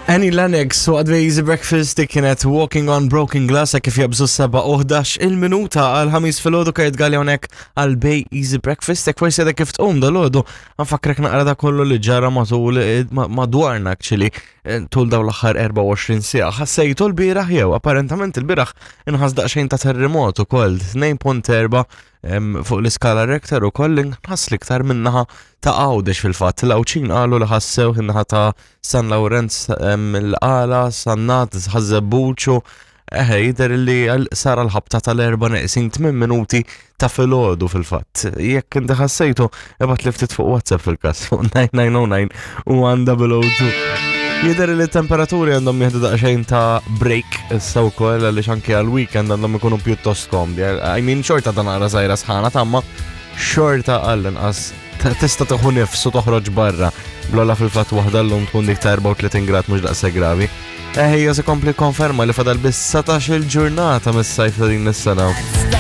Annie Lennox waqt Easy Breakfast dik kienet Walking on Broken Glass hekk kif jabżu 7:11 il-minuta għal ħamis filgħodu kajt Galli hawnhekk għal Bay Easy Breakfast hekk forsi għadek kif tqum dal-għodu nfakkrek naqra da kollu li ġara matul eh, madwarna actually eh, tul dawn l-aħħar 24 siegħa. Ħassejtu l-bieraħ jew apparentament il-bieraħ inħass daqsxejn ta' terremot ukoll 2.4 fuq l-iskala Richter u koll inħass l-iktar minnaħa ta' Għawdex fil-fatt. L-Għawdxin qalu li ħassew in-naħa ta' San Lawrenz l-Qala, Sannat, Ħaż-Żebbuġ u eħe jidher li sar l-ħabta tal-erba' neqsin 8 minuti ta' filgħodu fil-fatt. Jekk inti ħassejtu, ibgħat li ftit fuq WhatsApp fil-każ fuq 9909 u 1002. Jidher li t-temperaturi għandhom jieħdu daqsxejn ta' break issa wkoll għaliex anke għal-weekend għandhom ikunu pjuttost komdi. I mean xorta ta' naqra żgħira sħana tamma xorta għall-inqas tista' tieħu nifs u toħroġ barra. Blolla fil-fatt waħda llum tkun dik ta' 34 grad mhux daqshekk gravi. Eħe, se kompli konferma li fadal biss 17 il-ġurnata mis-sajf ta' din is-sena.